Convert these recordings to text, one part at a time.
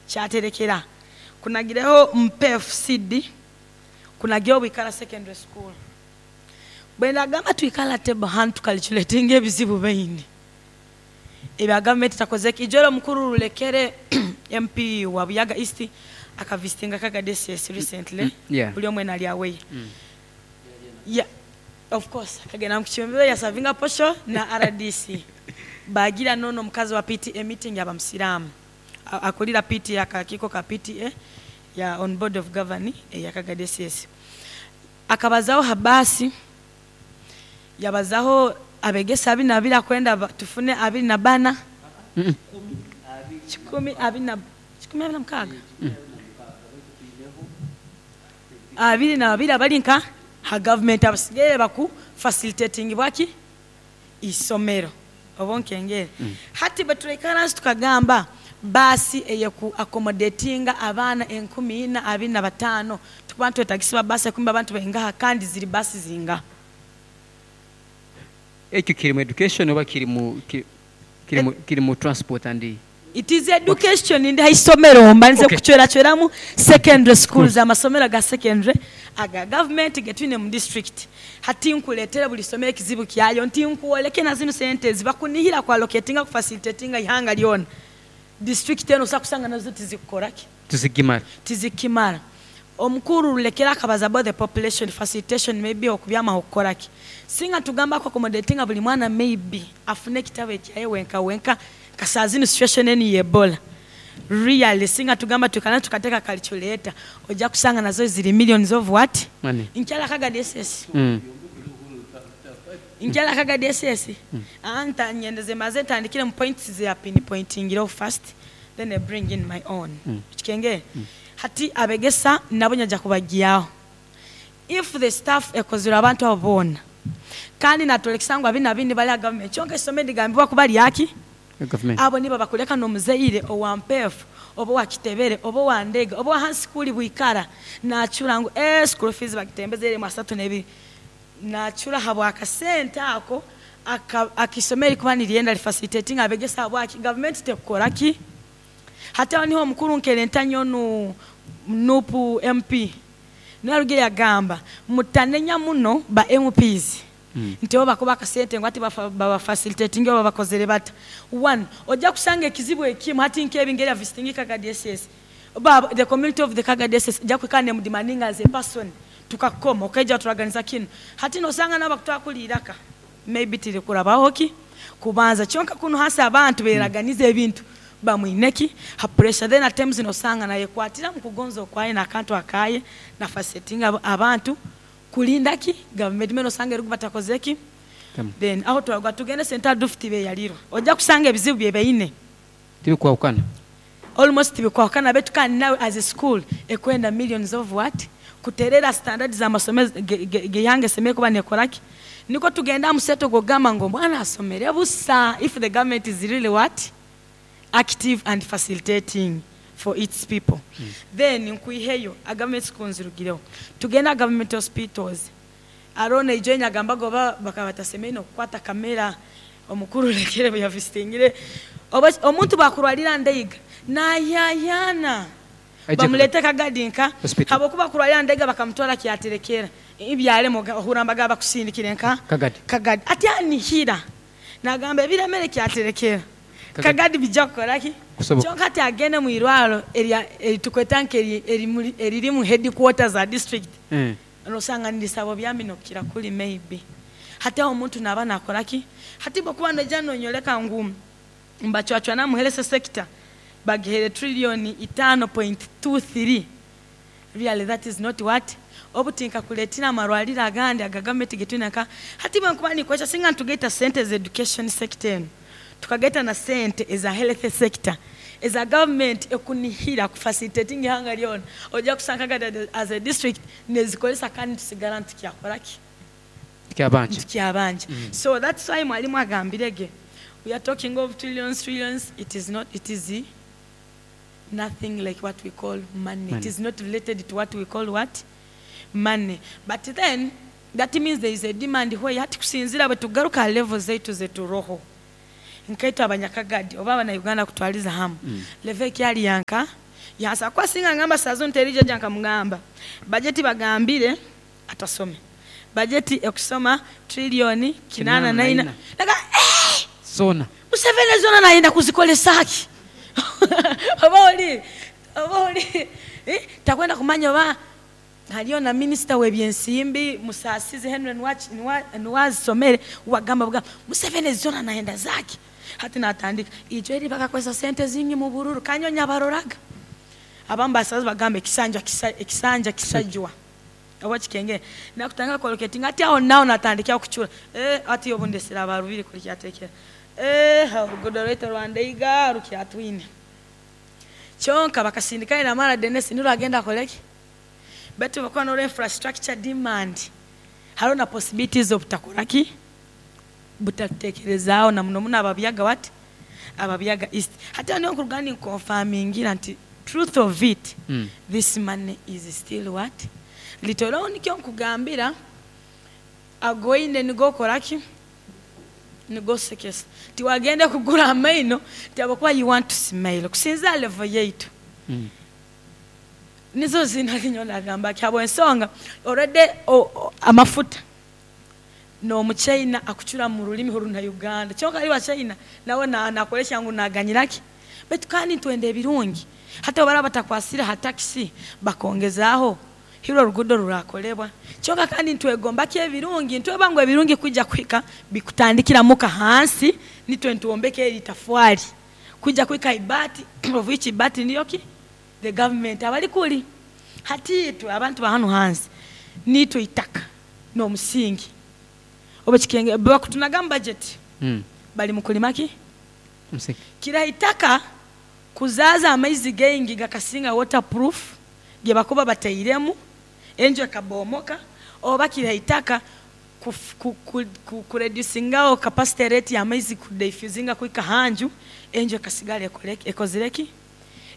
Kyaterekera kunagireho Mpeefu CD, kunagireho Bwikara Secondary School. Bwendagamba twikale table hanu tukalculetinga ebizibu baine ebya gavumenti etakozeki. Ijo ori omukuru Rulekere MP wa Buyaga East akavisitinga Kagadi SS recently, buri omwe nari aware. Yeah, of course akagenda ngu yasavinga posho na rdc. Bagira nono omukazi wa PTA meeting yaba musiraamu. Akurira PTA akakiiko ka PTA ya on board of governing eya Kagadi SS. Akabazaho ha baasi, yabazaho abegesa abi nabire akwenda tufune 24, 126, 22 abari nka ha gavumenti abasigaire baku facilitatingibwa ki? Isomero oba onkengere. Hati bweturaikara hansi tukagamba baasi eyeku accommodatinga abaana 4,025 tukuba nitwetagisibwa baasi ekumi abantu baingaha kandi ziri baasi zingaha? Ekyo kiri mu education oba kiri mu kiri mu transport and. It is education ndi ha isomero mbandize kucweracweramu secondary schools amasomero aga secondary aga government getwine mu district. Hati nkuletere buri isomero ekizibu kyayo nti nkwoleke na zinu sente ezibakunihira ku allocatinga ku facilitatinga ihanga ryona district enu osobola kusanga nazo tizikukora ki? Tizikimara. Tizikimara. Omukuru Rulekera akabaza about the population facilitation maybe okubyamaho kukora ki? Singa tugamba ku accommodatinga buri mwana maybe afune ekitabo ekyaye wenka wenka nka saaha zinu situation enu ya Ebola really singa tugamba twikara tukateka calculator oija kusanga nazo ziri millions of what? Money. Nkyara Kagadi SS. Nkyara Kagadi SS. Aa nta nyendeze mbanze ntandikire mu points ze ya pinpointingireho first then I bring in my own. Okikengere? Hati abegesa nabo nyaija kubagyaho. If the staff ekozirwe abantu abo boona kandi natworekesa ngu abina bindi bari aha government kyonka eisomero nirigambibwa kuba ryaki? Abo nibo abakureka n'omuzaire owa Mpeefu oba owa Kitebere oba owa Ndega oba owa hansi kuri Bwikara nacura ngu eeh school fees bagitembeze eri 32 nacura ahabw'akasente ako ak'eisomero erikuba niryenda rifacilitatinga abegesa ahabwaki government tekukora ki? Hati aho niho omukuru Nkerenta onu Nup MP niwe arugire yagamba mutanenya muno ba MPs nti bo bakuba akasente ngu hati baba facilitatinge oba bakozere bata. One, oja kusanga ekizibu ekimu hati nk'ebi ngeri ya visiting Kagadi SS, ba the community of the Kagadi SS eja kwikara nemudemandinga as a person tukakukoma okaija waturaganiza kinu. Hati nosanga nabo bakutwara kuri iraka maybe tirikurabaho ki kubanza kyonka kunu hansi abantu beraganiza ebintu bamwine ki ha pressure then at times nosanga nayekwatira mukugonza okwaye nakantu akaye na facilitatinga abantu kurinda ki gavumenti mbwenu osanga eriku batakozire ki then aho twaruga tugende sente dufu tibeyalirwa oja kusanga ebizibu byebaine. Tibikwahukana. Almost tibikwahukana beitu kandi nawe as a school ekwenda millions of what kuterera standard zamasomero geihanga esemereire kuba nekoraki nikwo tugende aha museto gwokugamba ngu omwana asomere busa if the government is really what active and facilitating for its people then nkwiheyo aha government school nzirugireho tugende aha government hospitals hariho naijo enyagambaga oba bakaba batasemereire nokukwata camera omukuru Rekere buyavisitingire oba omuntu bakurwarira Ndeiga nayayaana bamurete Kagadi nka habwokuba kurwarira Ndeiga bakamutwara Kyaterekera ebyarema ohurra nibagamba bakusindikire nka Kagadi ati anihira Nagamba ebiremere kyaterekera Kagadi bija kukora ki? Kyonka hati agende mu irwaro eri tukweta nka eriri mu headquarter za district nosanga nirisaba obyami nokukira kuri maybe. Hati aho omuntu naba nakora ki? Hati bwokuba noija nonyoreka ngu nibacwacwana omu health sector bagihaire trillion 5.23 Really that is not what obu tinkakureetire amarwariro agandi aga gavumenti getwine nka hati bwenkuba ninkozesa singa nitugaita sente eza education sector enu tukagaita na sente eza health sector eza gavumenti ekunihira ku facilitatinga ihanga ryona oija kusanga nka as a district nezikoresa kandi nitusigara nitukyakora ki? Nitukyabanja so that's why mwarimu agambire ge we are talking of trillions trillions it is not it is nothing like what we call money it is not related to what we call what money but then that means there is a demand where hati kusinzira bwetugaruka aha level zaitu zeturoho nkaitwe abanyakagadi oba abana Uganda kutwariza hamu level ekyari yanka? Yansa kuba singa ngamba sazo nterijaja nkamugamba bajeti bagambire atasome bajeti ekusoma trillioni 84. Naga eh! Zona. Museveni zona nayenda kuzikolesaki oba oli takwenda kumanya oba haliyo na minisita w'ebyensimbi Musasizi Henry niwazisomere wagamba bugamba Museveni zona nayenda zaki. Hati natandika ijo eri bakakozesa sente zingi mu bururu kanyonya baroraga abamu basazi bagamba ekisanja ekisanja kisajwa oba kikenge nakutanga collocating ati aho naho natandikira kuchura ati obundesera abarubiri kuri kyatekera orugudo rwaitu rwandeiga rukyatwine kyonka bakasindika ina mara Denis niro agenda akoleki betu bakuba no infrastructure demand hariho na possibilities of butakoraki butatekerezaaho na muno muno ababyaga what ababyaga east. Hati niyo nkuruga ninconfirmingira nti truth of it, this money is still what litoro. Nikyo nkugambira agoine nigokoraki nigosekesa tiwagenda kugura amaino tiabakuba you want to smile kusinza level yaitu. Nizo zina nagamba kyabo ensonga already amafuta n'omuchina akucura mu rulimi runa Uganda kyonka ali wa China nawe na nakoresha ngu naganyiraki betu kandi twende ebirungi hata bara batakwasira ha taxi bakongezaaho hiro rugudo rurakolebwa kyonka kandi ntwegomba ki ebirungi ntweba ngu ebirungi kwijja kuhika bikutandikira muka hansi nitwe ntuombeke eri tafwali kwijja kuhika ibati of which ibati niyo ki the government abali kuli. Hati itwe abantu ba hano hansi nitwe itaka n'omusingi oba kikenge bakutunaga mu budget bali mukulimaki Omusingi. Kira itaka kuzaza amaizi gengi gakasinga waterproof ge bakuba batairemu enju ekabomoka oba kira itaka kureducingao capacity rate y'amaizi kudiffusinga kuika hanju enju ekasigala ekozireki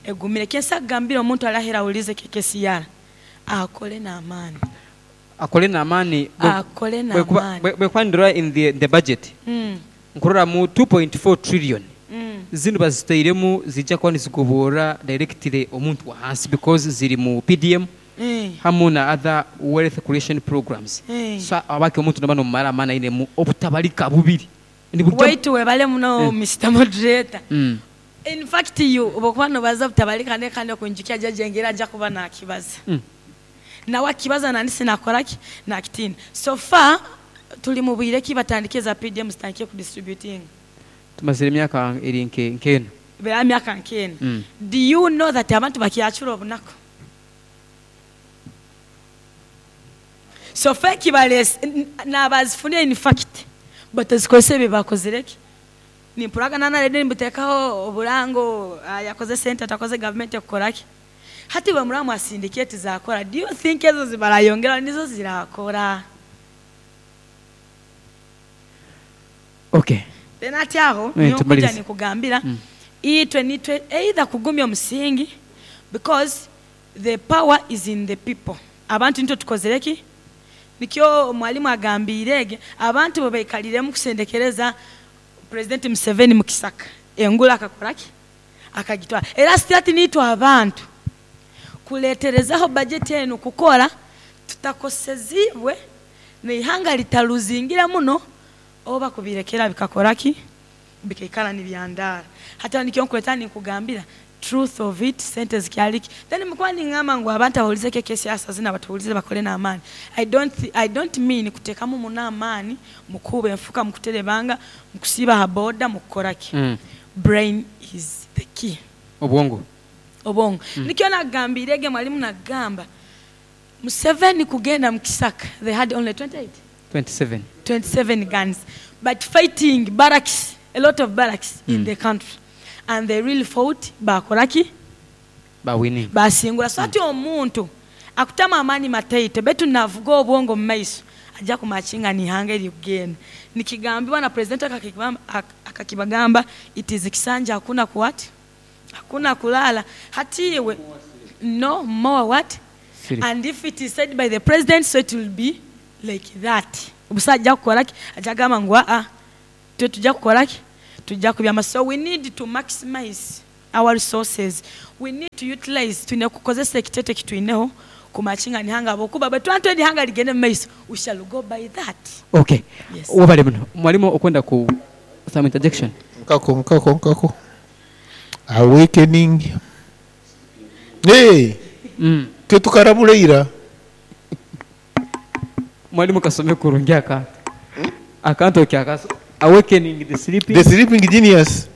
egumire. Kyensa kugambira omuntu arahera awulize kekesiyara akole n'amaani. Akole n'amaani. Akole n'amaani. Bwekwandira in the budget nkurora mu 2.4 trillion zino bazitairemu zijja kuba nizigobora directly omuntu wa hansi because ziri mu PDM hamu na other wealth creation programs. So abaki omuntu naba nomumara amaani ainemu obutabalika bubiri. Waitu webale muno, Mr Moderator. In fact, you obokuba nobaza butabalika ne kandi okunjikia jaje ajja kuba nakibaza nawe akibaza nandi sinakoraki nakitina. So far tuli mu bwire ki batandike za PDM zitandikie kudistributing? Tumazire emyaka eri nkeno. Bera myaka nkena. Do you know that abantu bakyacura obunaku? So far kibalese nabazifunire in fact batazikozesa ebyo bakozireki nimpuraga nanarede nibuteekaho oburango yakoze sente atakoze gavumenti ekukoraki hati bwe muramu asindiketi zakora. Do you think ezo zibarayongera nizo zirakora? Okay. Then ati aho niyo nkuja Tumalirize. nikugambira itwe nitwe either kugumya omusingi because the power is in the people. Abantu nitwe tukozereki nikyo mwalimu agambirege abantu bwe baikaliremu kusendekereza President Museveni mu kisaka engula akakoraki akagitwara. Era sitati nitwe abantu kuleterezaho bajeti enu kukora tutakosezibwe neihanga litaluzingira muno oba kubirekera bikakoraki bikaikara nibyandara. Hata nikyo nkuleta nikugambira truth of it sente zikyaliki. Then mkuwa ningamba ngu abantu abawulize keke siasa zina batuwulize bakole n'amaani. I don't mean kuteekamu muno amaani mukuba enfuka mukuterebanga mukusiba ha boda mukukoraki. Brain is the key. Obwongo. Obwongo. Nikyo nagambirege mwalimu nagamba Museveni kugenda mu kisaka they had only 28 27. 27 guns but fighting barracks, a lot of barracks in the country, and they really fought bakoraki bawinning. Basingula. So ati omuntu akutama amaani mataito betu navuga obwongo mu maiso ajja kumakinga nihanga erikugenda nikigambibwa na president akakibagamba it is kisanja hakuna kuwati hakuna kulala hatiwe no more what. Siri. And if it is said by the president, so it will be like that. Obusa ajja kukolaki ajja gamba ngu aa twe tujja kukolaki tujja kubyama. So we need to maximize Our resources we need to utilize twine kukozesa ekitete ekitwineho kumakinga nihanga ahabwokuba bwetwaba nitwenda ihanga rigende mumaiso we shall go by that. Ok Yes. webale muno mwalimu okwenda ku some interjection. Nkako nkako nkako awakening hey, Mm. twe tukarabura ira. Mwalimu kasome kurungi akantu. Akantu okyakaso awakening the sleeping. The sleeping genius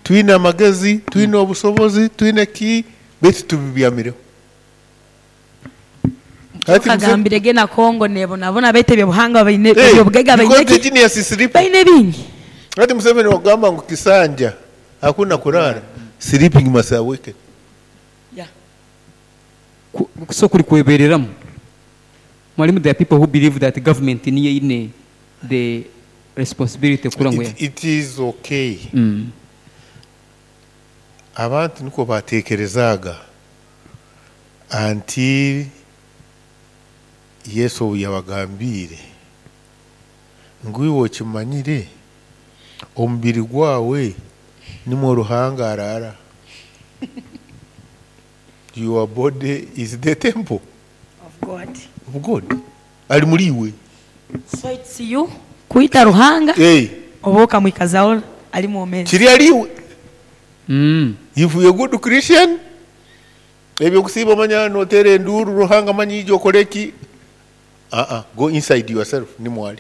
twine amagezi twine obusobozi twine ki beitu tubibyamireho. Hati muse- Kagambire ge na Congo nebonabona baitu ebyobuhangwa baine Hey, ebyobugaiga baine because the ki genius is sleeping. baine bingi. Hati Museveni wagamba ngu kisanja hakuna kurara sleeping must awaken. Yeah. So kuri kwebereramu. Mwalimu there are people who believe that government niyo eine the responsibility kura ngu It is okay. Mm. Abantu niko batekerezaaga until Yesu obu yabagambiire ngu iwe okimanyire omubiri gwawe nimwo Ruhanga araara. Your body is the temple Of God. of God. Ali muri iwe. So it's you kwita Ruhanga Hey, oba okamwikazaho ari mwomezi. kiri ari iwe. Mm. If you're a good Christian, ebyokusiiba omanya noteera enduuru Ruhanga amanyi ija okore ki. Go inside yourself nimwali.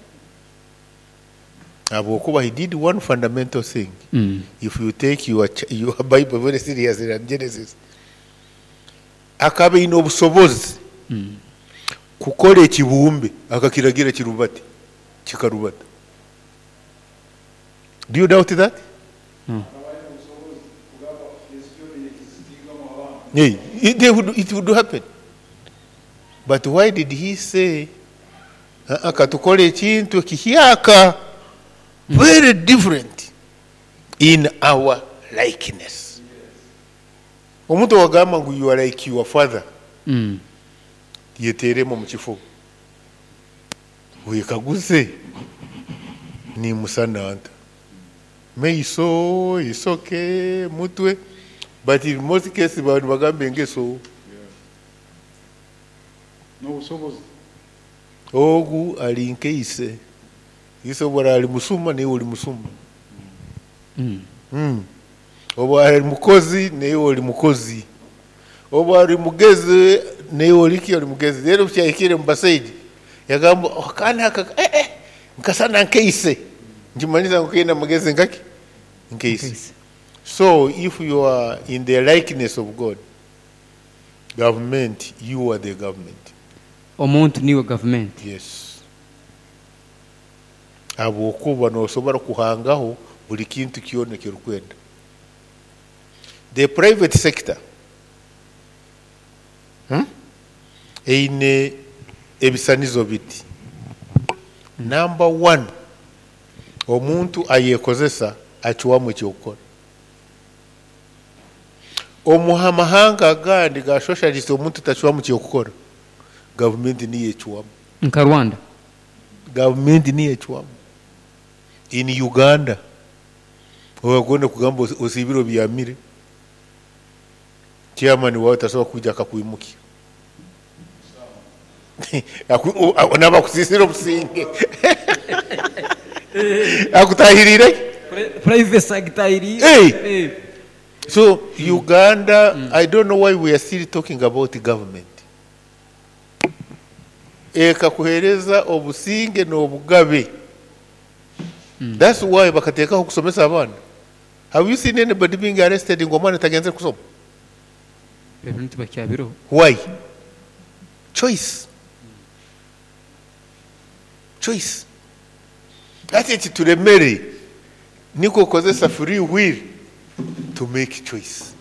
Habwokuba he did one fundamental thing. Mm. If you take your Bible very seriously and Genesis, akaba aine obusobozi Mm. kukora ekibumbe akakiragira kirubate kikarubata. Do you doubt that? No. Yeah, it would happen. But why did he say, katukore ekintu ekihyaka very different in our likeness. Omuntu wagamba ngu you are like your father, Mm. yeteremu omu kifo. Wekaguze nimusana nta. Meiso, isoke, mutwe. But in most cases abantu bagamba engeso. N'obusobozi. Ogu ali nkeise. Ise obwo ali musuma naye oli musuma. Mm. Mm. Oba ali mukozi naye oli mukozi. Oba ali mugezi naye oli ki oli mugezi. Rero kyahikire mu basaija yagamba akaana aka nkasana nkeise. Nkimanyisa ngu kaine amagezi nkaki? Nkeise. Nkeise. So if you are in the likeness of God, government, you are the government. Omuntu niwe government. Yes. Habwokuba nosobora kuhangaho buli kintu kyona ekirikwenda. The private sector eine ebisanizo biti. Number one, omuntu ayekozesa acuwamu ekyokukora. Omu mahanga agandi ga socialist omuntu tacuwamu kyokukora. Gavumenti niyo ecuwamu. Nka Rwanda. Gavumenti niyo ecuwamu. In Uganda, owagonda kugamba osiibire obyamire. Chairman wawe tasobola kwija akakwimukia. Naba akusisire obusinge. Akutahirire? Private sector iri. Hey! So Uganda, I don't know why we are still talking about the government. Ekakuhereza obusinge n'obugabe. That's why bakateekaho kusomesa abaana. Have you seen anybody being arrested ngu omwana tagenze kusoma? Ebintu tibakyabiroho. Why? Choice. Choice. Hati ekituremere niko okozesa free will to make choice.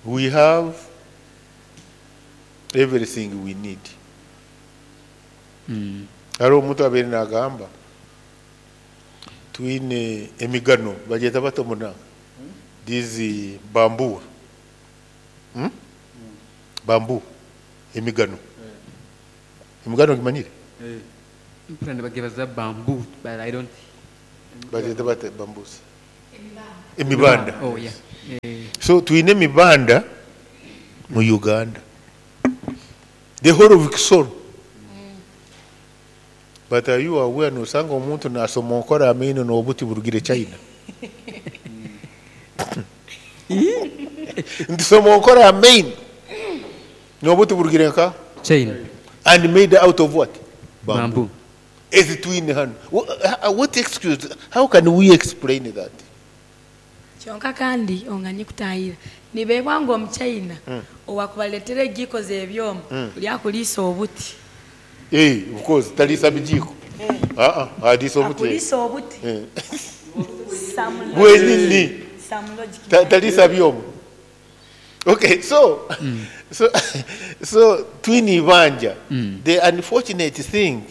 We have everything we need. Mm. Hariho omuntu abaire nagamba twine emigano bagyeta bata omunanga these bamboo. Bamboo emigano. Emigano ogimanyire? Mpura nibagebaza bamboo but I don't Bagyeta bata bamboos. Emibanda. Oh, yeah. Eh. So twine emibanda mu Uganda. The whole of Kisoro. But are you aware nosanga omuntu nasomonkora amaino n'obuti burugire China? Nti somonkora amaino n'obuti burugire nka? China. And made out of what? Bamboo. Bamboo. Ezi twine hanu. What excuse? How can we explain that? Kyonka kandi onganye kutahira nibeebwa ngu omuchaina owakubareetera egiiko z'ebyoma buri akuriisa obuti. Eh, of course, taliisa bijiiko. Ah ah, aliisa obuti. Akuriisa obuti. Eh. Some logic. Bwenyini. Some logic. Taliisa byoma. Okay, so so twine ibanja. The unfortunate thing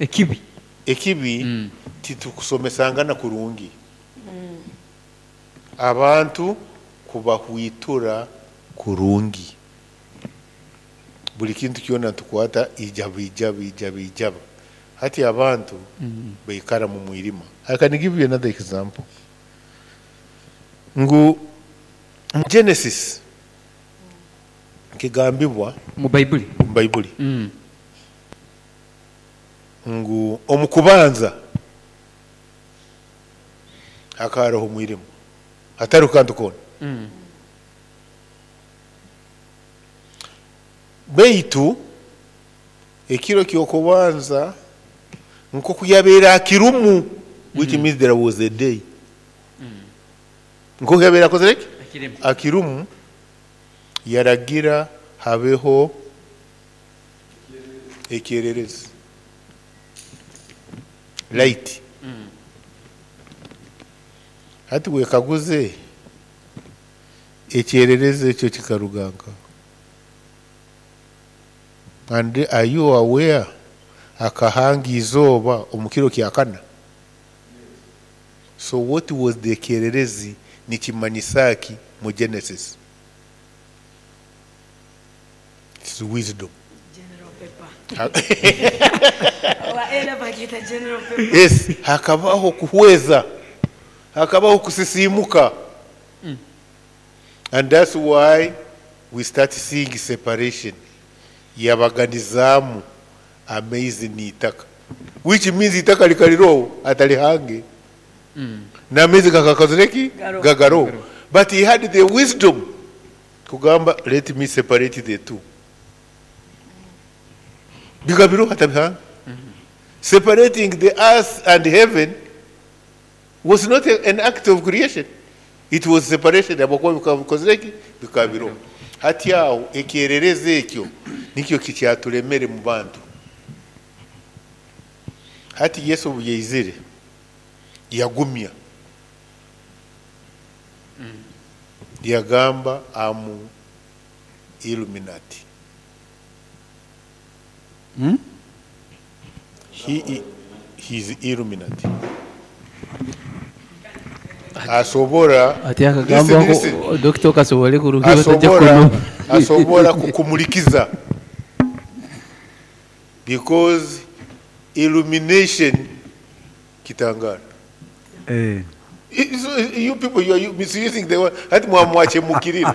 Ekibi. Ekibi titukusomesangana kurungi. Abantu kubahwitura kurungi. Buli kintu kyona tukwata ijaba ijaba ijaba ijaba. Hati abantu baikara mu mwirima. I can give you another example. Ngu Genesis kigambibwa mu Baibuli. Mu Baibuli. Ngu omukubanza hakaraho mwirima. Hatari kantu kona. Beitu ekiro kyokubanza nkoku yabeera akirumu, which means there was a day. Nkoku yabeera akozere ki? Akirimu. Akirumu yaragira habeho ekyererezi. Light. Hati wekaguze ekyererezi ekyo kikaruganka. And are you aware akahanga izooba omu kiro kya kana? So what was the kyererezi nikimanyisa ki mu Genesis? It's wisdom. General paper. Owa era bakita general paper. Yes, hakabaho kuhweza. Hakabaho kusisimuka. And that's why we start seeing separation. Yabaganizamu amaizi n'itaka. Which means itaka likaliroho atalihange. N'amaizi gakakozereki? Garo. Gagaro. But he had the wisdom kugamba let me separate the two. Bigabiro atabihanga. Separating the earth and heaven was not an act of creation. It was separation. Abakuwa bikakozereki? Bikabiro. Hati aho ekyererezi ekyo nikyo kikyaturemere mu bantu. Hati Yesu obu yaizire yagumya. Yagamba amu Illuminati. He is Illuminati. Asobora Ati akagamba Listen, listen. ngu dokita okasobole kuruga batajja kuno. Asobora kukumulikiza because illumination kitangara. So, you people, you are misusing the word. Hati mwamwache mukirira.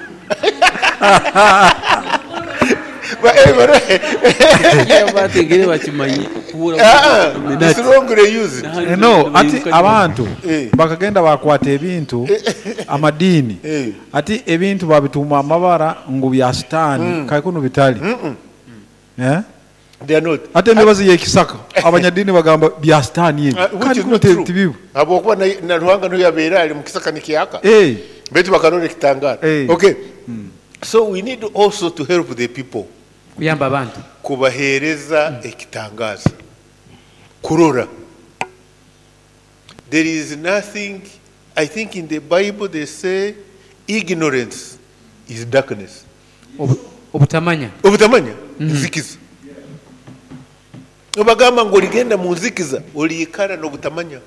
But anyway, Iyo bategere bakimanyi kubura it's wrongly used. No, ati abantu Eh. bakagenda bakwata ebintu amadiini Eh. ati ebintu babituma amabara ngu bya sitaani kaikuno bitali. Eh? They are not. Ate emibazi y'ekisaka abanyadiini bagamba bya sitaani ebyo Which kandi is kuno not true. tibibu. Habwokuba na Ruhanga niyo yabeera ali mu kisaka nikyaka. Eh. Baitu bakarora ekitangara. Eh. Okay. So we need also to help the people. Kuyamba abantu. Kubaheereza ekitangaza. Kurora. There is nothing, I think in the Bible they say ignorance is darkness. Obutamanya. Obutamanya, nzikiza. Obagamba ngu oligenda mu nzikiza, oliikara n'obutamanya.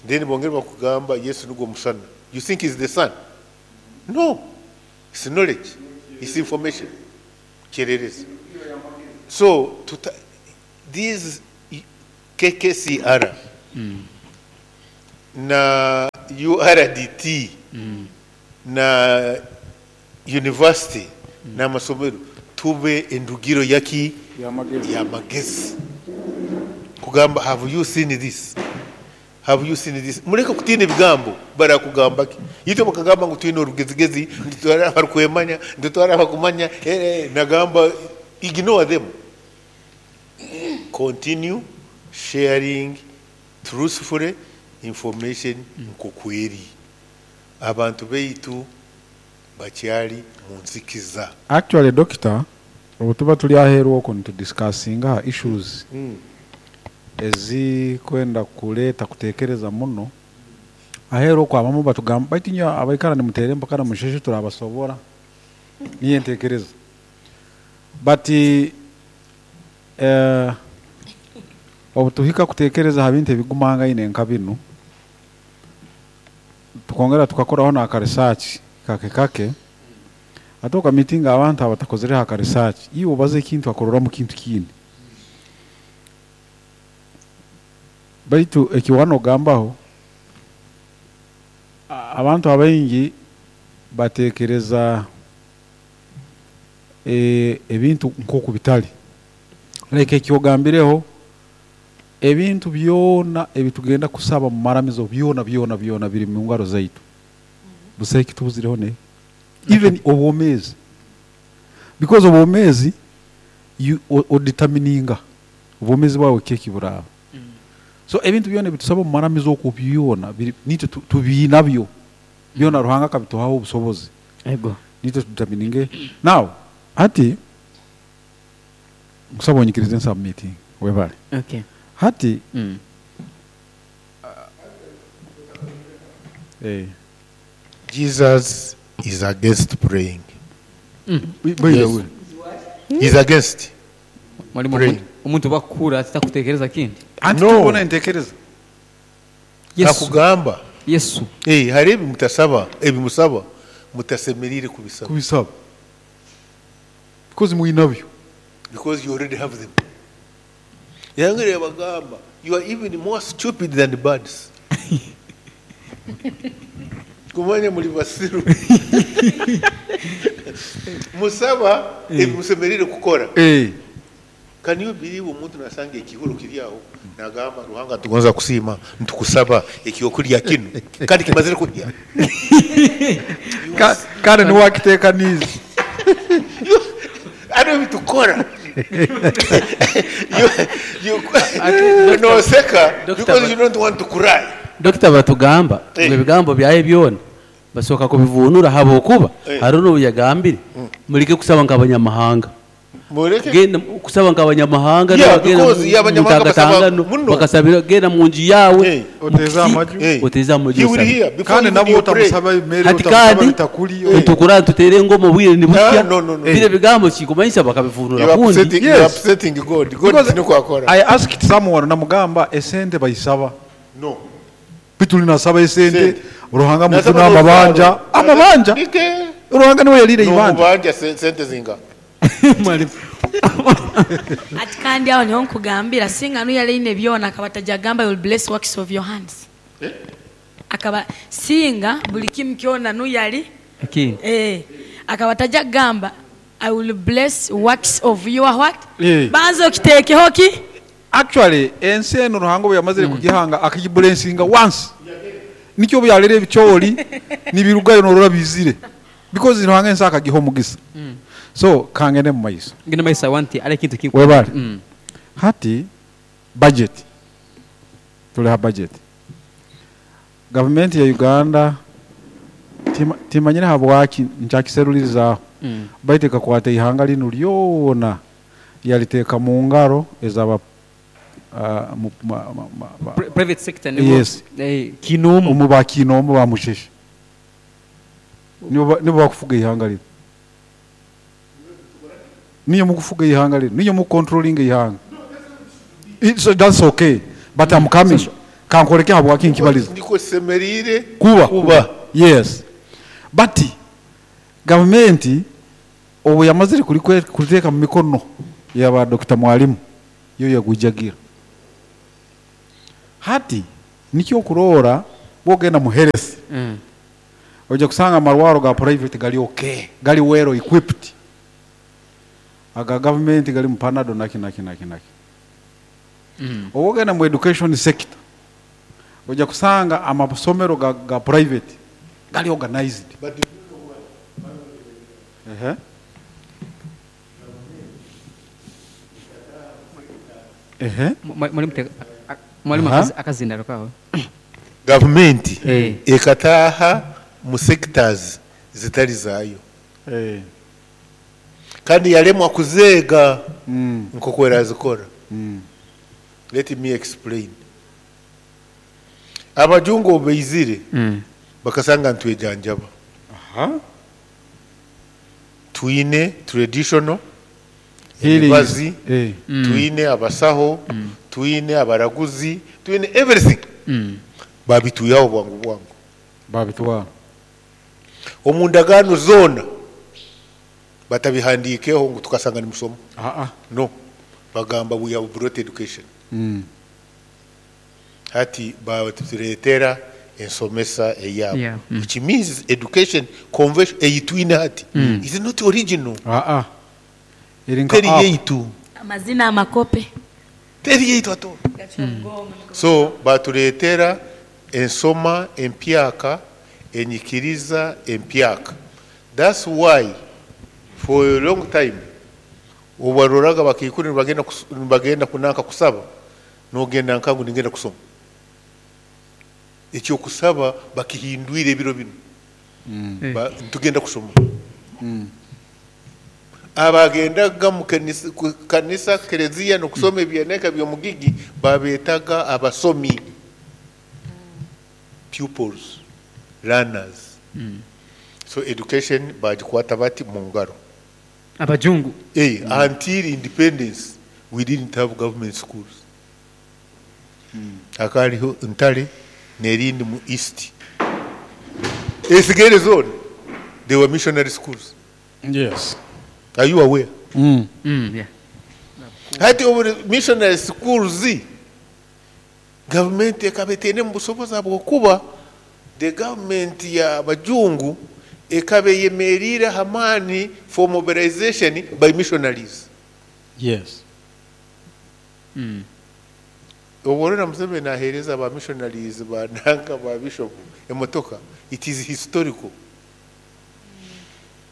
Then bongera bakugamba Yesu nigwo musana. You think he's the sun? No. It's knowledge. It's information. Kyererezi. So, these KKCR Na URDT na university n'amasomero tube endugiro yaki y'amagezi kugamba have you seen this have you seen this mureke kutiina ebigambo barakugamba ki itwe bakagamba ngu twine orugezigezi nitutwara abarikwemanya nitutwara abakumanya eh, eh, nagamba ignore them continue sharing truthfully information nkokweri abantu beitu bakyari munzikiza. Actually doctor obutuba turi aheru okwo nitu discussinga aha issues ezikwenda kureeta kutekereza muno, aheru okwo abamwe batugamba baitu inywe abaikara nimuteera empaka na musheshe turabasobora niyo entekereza but eh, obutuhika kutekereza aha bintu ebigumangaine nka binu tukongera tukakoraho n'aka research kake kake ate okamitinga abantu abatakozereho aka research iwe obaza ekintu akororamu kintu kindi baitu eki wanogambaho abantu abaingi batekereza eh, ebintu nk'oku bitali like eki ogambireho ebintu byona ebitugenda kusaba mu maramizo byona byona byona biri mu ngaro zaitu busaho ekitubuzireho ne even obwomeezi because obwomeezi you odetermininga obwomeezi bwawe ki ekiburaaba so ebintu byona ebitusaba mu maramizo okwo byona biri nitwe tubiinabyo byona Ruhanga akabituhaho obusobozi Ego. nitwe tudetermininge now hati nkusaba onyikirize nsubmitinge webale Okay. hati eh. Jesus is against praying. By the Yes. way He's against Mwalimu praying. omuntu bakukura atitakutekereza kindi. Anti No. tubona entekereza Yesu. Nakugamba Yesu. eh, hari ebi mutasaba ebimusaba mutasemerire kubisaba kubisaba because mwinabyo because you already have them. Yangere bagamba you are even more stupid than birds. Kumanya muri basiru. Musaba ebimusemerire kukora. eh Can you believe omuntu nasanga ekihuro kiri aho nagamba Ruhanga tugonza kusiima ntukusaba ekyokulya kinu kandi kimazire kulya. Kandi niwakitekaniize Ari bitukora. You, you, noseka Doctor, because you don't want to cry. Dokita batugamba Eh. ngu ebigambo byaye byona basooka kubivunura habwokuba Eh. hariho n'obu yagambire mureke kusaba nk'abanyamahanga Mureke genda kusaba nk'abanyamahanga Yeah, nabagenda because yeah, abanyamahanga basaba mutangatangano muno. bakasabira genda mu nju yawe Eh. oteze amaju Eh. oteze amaju He will osabe. hear before kandi even nabwo you pray. otamusaba emere hati otamusaba kandi bitakuli ntukura tutere engoma obwire ni Ah, butya no, no, no. bire bigambo kikumanyisa bakabivunura You are kundi upsetting, you are Yes. upsetting God. God Because tiniko akora. I asked someone namugamba esente bayisaba No. bituli nasaba esente Sente. Ruhanga Nasaba mutuna amabanja n'oruzaaro. amabanja Nike. Ruhanga niwe yalire ibanja N'omubanja sente zinga. Mwalimu. Ati kandi aho niho nkugambira singa nuyaleine byona akaba tajagamba you will bless works of your hands. Akaba singa buli kimu kyona nuyali Ekindi. eh akaba tajagamba I will bless works of your what? Eh. Banza okiteekeho ki? Actually ensi eno Ruhanga obu yamazire kugihanga akagibulensinga once nikyo obu yalera ebicoori nibirugayo norora bizire because Ruhanga ensi akagiha omugisa so kangende mu maiso Ngenda maisa wanti ari ekintu kingu. webale hati budget tuli ha budget gavumenti ya Uganda timanyire habwaki nkyakiserulirizaaho baitu ekakwata ihanga linu lyona yaliteeka mu ngaro ezaba Private sector nibo. Yes. Eh, kinomu. omu bakiinoomu bamusheshe nibo nibo bakufuga ihanga linu niyo mukufuga ihanga linu niyo mukontrolinga ihanga It's, that's okay but I'm coming kankoreke habwaki nkibaliza Ndiko semerire kuba kuba. yes but gavumenti obu yamazire kuliteeka mu mikono yaba Dr. Mwalimu yo yagujagira Hati nikyo okuroora bwogenda mu health oija kusanga amarwaro ga private gari okay, gari well equipped, aga gavumenti garimu panado naki naki naki naki. Obu ogenda mu education sector oija kusanga amasomero ga private gari organized. Ehe. Ehe. Mwarimu teka mwarimu Aha. akazindaro kawe. Gavumenti Eh. ekataaha mu sectors zitari zaayo Eh. kandi yaremwa kuzeega nk'oku erazikora. Let me explain. Abajungu obu baizire bakasanga nitwejanjaba. Aha. Twine traditional Healing. emibazi, Eh. twine abasaho, twine abaraguzi, twine everything. Babitwihaho bwangu bwangu. Babitwara. Omu ndagaano zoona batabihandiikeho ngu tukasanga nimusoma. Aa. No. Bagamba we have brought education. Hati batureetera ensomesa eyaabo. Yeah. Which means education convention ei twine hati is not original. Aa. Eri nka Teri app. yaitu. Amazina amakope. Teri yaitu at all. So batureetera ensoma empyaka, enyikiriza empyaka. That's why for a long time obaroraga bakaikuru nibagenda kunanka kusaba, nogenda nkangu ningenda kusoma. Ekyokusaba bakihindwire ebiro binu. Ntugenda kusoma. Abagendaga mu kanisa kereziya nokusoma ebyaneka by'omugigi babetaga abasomi, pupils, learners. So education bagikwata bati mu ngaro. Abajungu. Until independence we didn't have government schools. Akariho Ntare nerindi mu East. Esigere zone they were missionary schools. Yes. Are you aware? Yeah. Hati obu missionary schools government ekaba etaine mu busobozi habwokuba the government ya bajungu ekaba eyemerire hamaani for mobilization by missionaries. Yes. Obu orora Museveni aheereza ba missionaries ba nanka ba bishop emotoka, it is historical.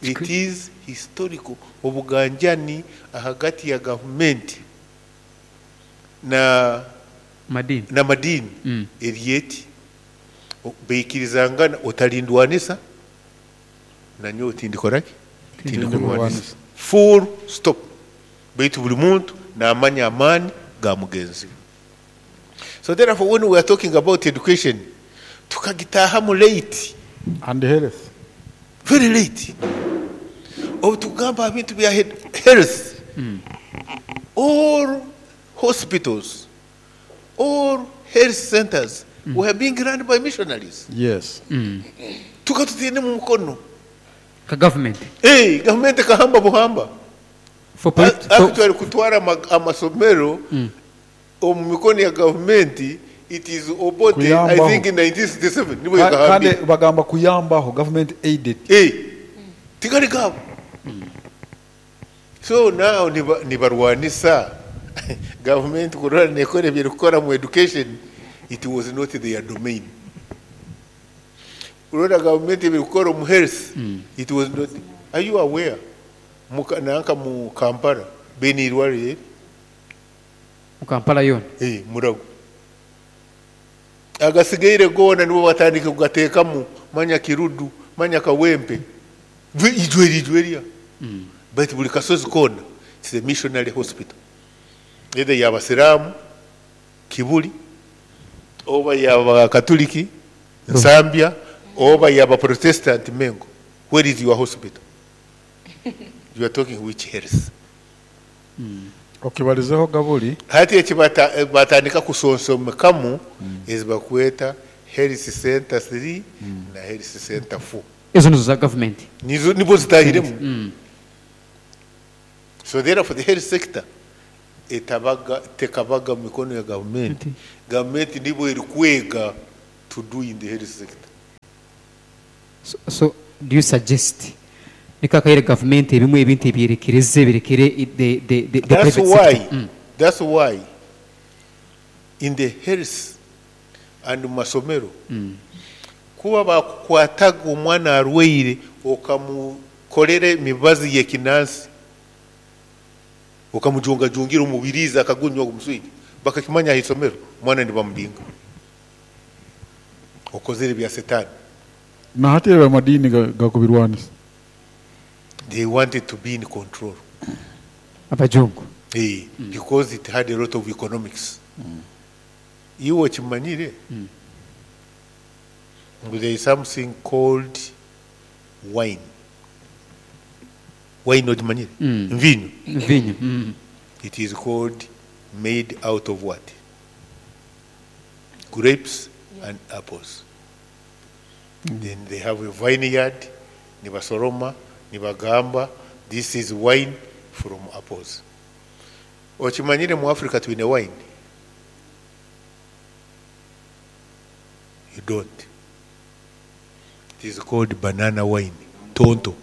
It is historical. Obuganjani ahagati ya government na Madini. na madini eryeti baikirizangana otarindwanisa nanyowe tindikoraki tindikurwanisa, full stop. Baitu buli muntu namanya amaani ga mugenzi we. So therefore when we are talking about education tukagitahamu late. And health. Very late. Obu tugamba ebintu bya health, all hospitals, all health centers were being run by missionaries. Yes. Tukatutiine mu mukono. Ka government. Hey, gavumenti kahamba buhamba. For for, Actually kutwara amasomero omu mikono ya gavumenti, it is Obote, I Kuyambaho. think in 1967 niwe Kandi yakahambire. bagamba kuyambaho government aided. Hey, tigari gabo. So now nibarwanisa government kurora nekora ebyerikukora mu education, it was not their domain. Urora government ebirikukora mu health, it was not. Are you aware? Nanka mu Kampala bene irwarire eri? Mu Kampala yona. Eh, Murago. Agasigaire goona nibo batandika kugateekamu manya Kirudu, manya Kawempe. Ijweri ijweria. But buli kasozi koona it's a missionary hospital. Either y'abasiraamu Kibuli, oba y'abakatuliki Nsambya, oba y'abaprotestant Mengo. Where is your hospital? You are talking which health? Okibarizeho Gaburi. Hati eki batandika kusonsomekamu ezi bakweta health center 3 na health center 4. Ezo nizo za government. Nizo nibo zitahiremu. So therefore the health sector etabaga tekabaga mu mikono ya gavumenti. Gavumenti nibwo erikwega to do in the health sector. So do you suggest niko akaire gavumenti ebimwe ebintu ebyerekereze birekere the That's private why, sector? That's why in the health and mu masomero, kuba bakukwataga omwana arwaire, okamukorera emibazi y'ekinansi, okamujungajungira omubirizi, akagunywa omuswija, bakakimanya aha isomero, omwana nibamubinga, okozere bya setani. Na hati ebyo amadiini gakubirwanisa. They wanted to be in control. Abajungu. Eh, because it had a lot of economics. Iwe okimanyire ngu there is something called wine. Wine okimanyire? Mvinyo. Mvinyo. It is called made out of what? Grapes and apples. Then they have a vineyard, nibasoroma, nibagamba, this is wine from apples. Okimanyire mu Africa twine wine? You don't. It is called banana wine, tonto.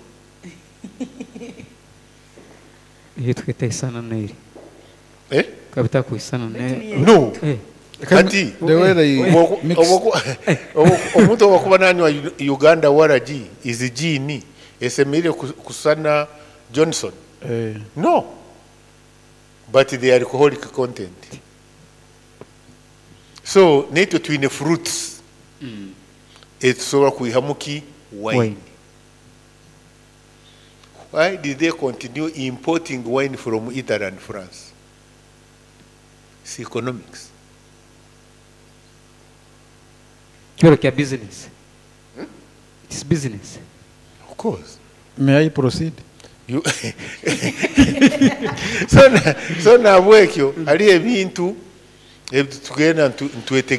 Iyo twita isana neri. Eh? Kabita kuisana ne. No. Eh. Kati, The way they mix. omuntu owakuba nanywa Uganda waragi izi gini esemerire kusana Johnson. Eh. No. But the alcoholic content. So naitwe twine fruits. Etusobola kwihamu ki? Wine. Wine. Why did they continue importing wine from Italy and France? It's economics. Kibero kya business. It is business. Of course. May I proceed? You so nabwekyo hariho ebintu ebitugenda ntwete.